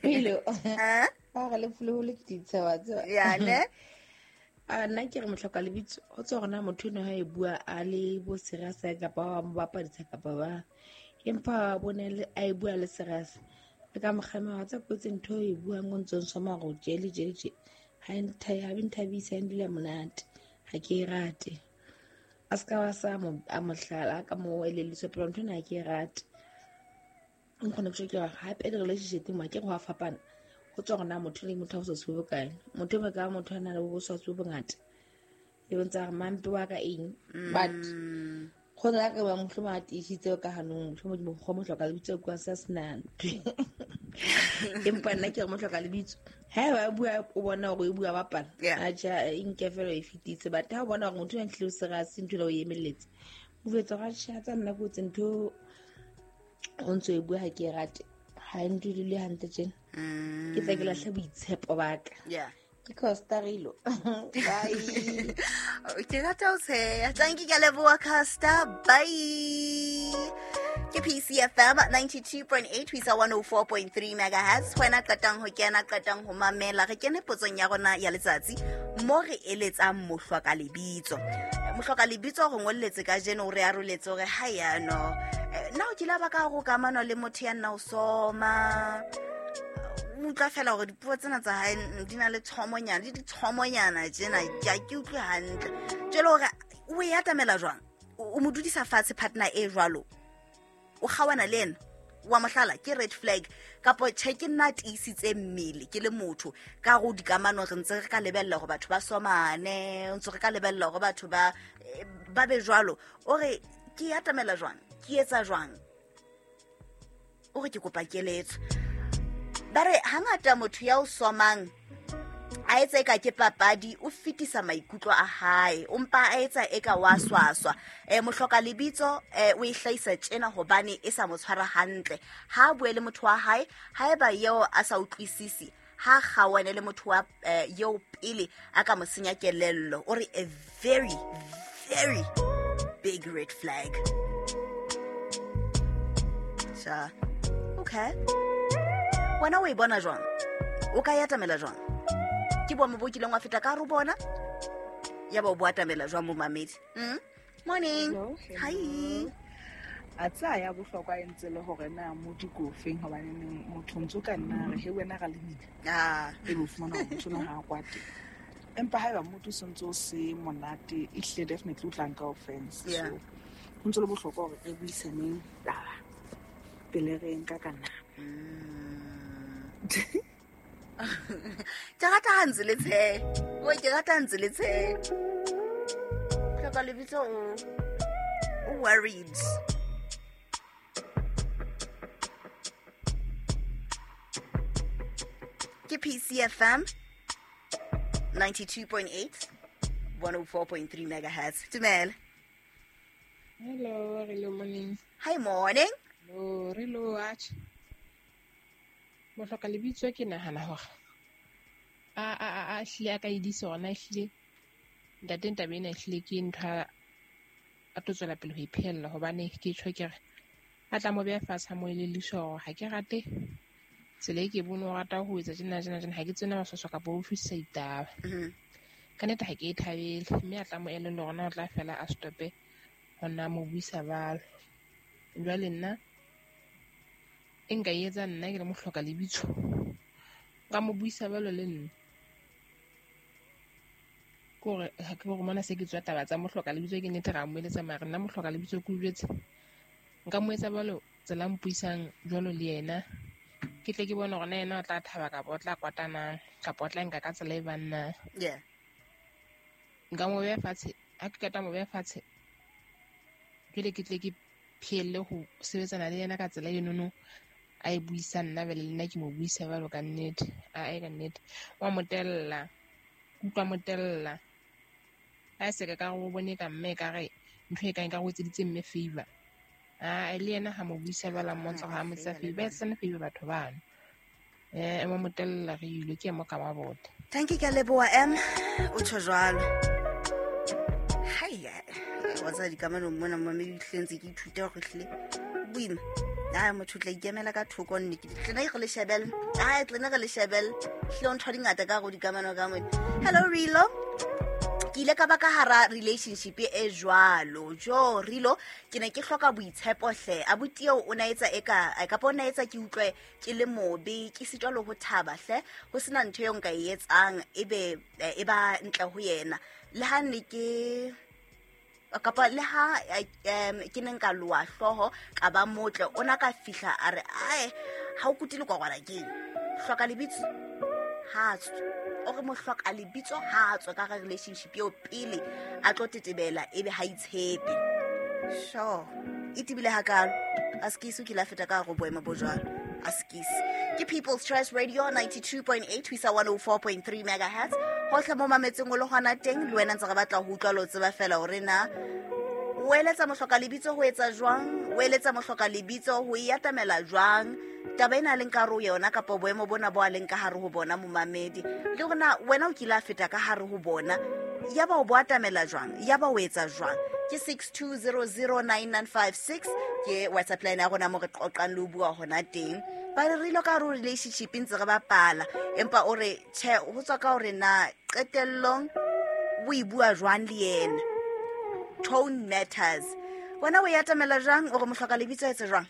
Pelo. Ha? Ba re le folo ke ditshewa tse. Ya ne? A nna ke re mohloka lebitso go tswa gona motho eno ha e bua a le bo serious kapa ba mo bapadisa kapa ba empa bone a e bua le serious le ka mokgama wa tsa kotsi ntho e buang o ntse o nsoma go jele jele je ha e ntha ha e nthabise ha e ndula monate ha ke e rate a se ka wa sa mo a mohlala ka mo elelliswa pele ntho ena ha ke e rate nkgone go ke gore gape di-relationship mo ke go a fapana go tswa gona motho le motho a boswaswi bo bokae motho e ka motho a na le boswaswi bo bongata e bontsha gore mampe wa ka eng but go na ka ba mohlomong a tiisitse ka hanong mohlomong go mo hloka lebitso kwa sa sena ntho empa nna ke re mo hloka lebitso ha ba bua o bona gore e bua bapala Yeah. a ja e nke fela e fetitse but ha o bona gore motho a ntlile o serious ntho ela o emeletse o jwetsa gore atjhe, tsa nna kotsi ntho o ntse o e bua ha ke e rate ha e ntudule hantle tjena ke tla ke lahle boitshepo ba ka Yeah. Ke Costa Rilo. Bye. Ke rata ho tsheha. Thank you, ke a leboha Costa. Bye. Ke PCFM 92.8 ho isa 104.3 megahertz. Wena qetang ho kena, qetang ho mamela. Re kene potsong ya rona ya letsatsi mo re eletsang mohlwa ka lebitso. Mohlwa ka lebitso re ngolletse kajeno, o re aroletse hore ha yano. Na o kile wa ba ka hare ho kamano le motho ya nna o soma? O utlwa fela hore dipuo tsena tsa hae di na le tshomonyana, le ditshomonyana tjena, ke a ke utlwe hantle. Jwale hore o e atamela jwang? O mo dudisa fatshe partner e jwalo? O kgaohana le ena? Wa mohlala ke red flag kapo tjhe ke nna a tiisitse mmele ke le motho ka hare ho dikamano re ntse re ka lebella hore batho ba somane, ntse re ka lebella hore batho ba be jwalo. O re ke e atamela jwang? Ke etsa jwang? O re ke kopa keletso. Ba re hangata motho ya o somang a etsa eka ke papadi, o fetisa maikutlo a hae, o mpa a etsa eka wa swaswa. Mohloka lebitso o e hlahisa tjena hobane e sa mo tshwara hantle. Ha a bue le motho wa hae, haeba eo a sa utlwisisi, ha kgaohane le motho wa eo pele a ka mo senya kelello. O re a very, very big red flag. Sha. Okay. Wena o e bona jwang? O ka e atamela jwang? Ke boemo bo kileng wa feta ka hare ho bona? Ya ba o bo atamela jwang momamedi? Morning. Hello, hello. Hi. A tsaya ya bohlokwa e ntse le hore na modi ke ofeng, hobane neng motho ntso ka nna re he wena ra lemina. E be o fumana hore motho ona ha a kwate. Empa haeba motho o sentse o se monate, ehlile definitely o tla nka offense. So ho ntse le bohlokwa hore re buisaneng taba pele re nka ka nna. Ke rata ha ntse le tshehe. Oi, ke rata ha ntse le tshehe. Hloka lebitso o worried. Ke PCFM 92.8 104.3 megahertz. Dumela. Hello, hello, morning. Hi, morning. Hello, hello, atjhe. Mohloka lebitso ke nahana hore a hlile a ka edisa hore na ehlile ntate taba ena ehlile ke ntho a tlo tswela pele ho e phehella, hobane ke tjho ke re a tla mo beha fatshe a mo elelliswa hore ha ke rate tsela e ke bone o rata ho etsa tjena, tjena, tjena, ha ke tsena maswaswa kapa ho utlwisisa ditaba. Ka nnete ha ke e thabele, mme a tla mo elellwa hore na o tla fela a stope ho nna mo buisa jwalo. Jwale nna e nka e etsa nna ke le mohloka lebitso, nka mo buisa jwalo le nna. Ke hore ha ke hore mona se ke tswa taba tsa mohloka lebitso, ke nnete ra mo eletsa, mara nna mohloka lebitso ke o jwetse. Nka mo etsa jwalo tsela mpuisang jwalo le yena, ke tle ke bone hore na yena o tla thaba kapa o tla kwata na, kapa o tla nka ka tsela e bang na. Nka mo beha fatshe, ha ke qeta mo beha fatshe, jwale ke tle ke phehelle ho sebetsana le yena ka tsela enono a e buisang nna, jwale le nna ke mo buisa jwalo ka nnete. Ae, ka nnete. Wa mo tella, utlwa mo tella. Ha e se ka re o bone ka mme ekare ntho e kang ekare o etseditse mme favor. Ae, le yena ha mo buisa jwalo, a mmontsha hore ha mo etsetsa favor, ba etsetsane favor batho bano. Wa mo tella re ile ke mo ka mabota. Thank you, ke a leboha, M. O tjho jwalo. Hai, wa tseba dikamanong mona, mamedi, ehlile ntse ke ithuta hore ehlile boima. A motho o tla ikemela ka thoko nne ke tlene re le shebelle. Ai, tlene re le shebelle. Hlile ntho di ngata ka go dikamano ka mone. Hello Rilo. Ke ile ka ba ka hara relationship e jwalo. Jo Rilo, ke ne ke hloka boitshepo hle. Abuti eo o na etsa eka kapa o na etsa ke utlwe ke le mobe, ke sitwa le ho thaba hle. Ho sena ntho eo nka e etsang ebe e ba ntle ho yena. Le ha ne ke kapa le ha ke ne nka loa hlooho ka ba motle, o na ka fihla a re ae ha o kutile kwa kwana keng. Hloka lebitso ha tswe. O re mo hloka lebitso ha tswe ka relationship eo pele a tlo tetebela ebe ha itshepe. Sure. E tibile hakalo. Askies o kile a feta ka go boemo bo jwalo. Askies. Ke People's Choice Radio 92.8 ho isa 104.3 megahertz. Hohle mo mametseng o le hona teng, le wena ntse re batla ho utlwa le ho tseba fela hore na o eletsa mohloka lebitso ho etsa jwang, o eletsa mohloka lebitso ho e atamela jwang taba ena a leng ka hare ho yona kapa boemo bona bo a leng ka hare ho bona momamedi, le hore na wena o kile a feta ka hare ho bona ya ba o bo atamela jwang, ya ba o etsa jwang. Ke 62009956 ke WhatsApp line ya rona mo re qoqang le ho bua hona teng. Ba re rile ka hare ho relationship ntse re bapala, empa o re tjhe ho tswa ka hore na qetellong o e bua jwang le yena. Tone matters. Wena o e atamela jwang, o re mohloka lebitso etse jwang?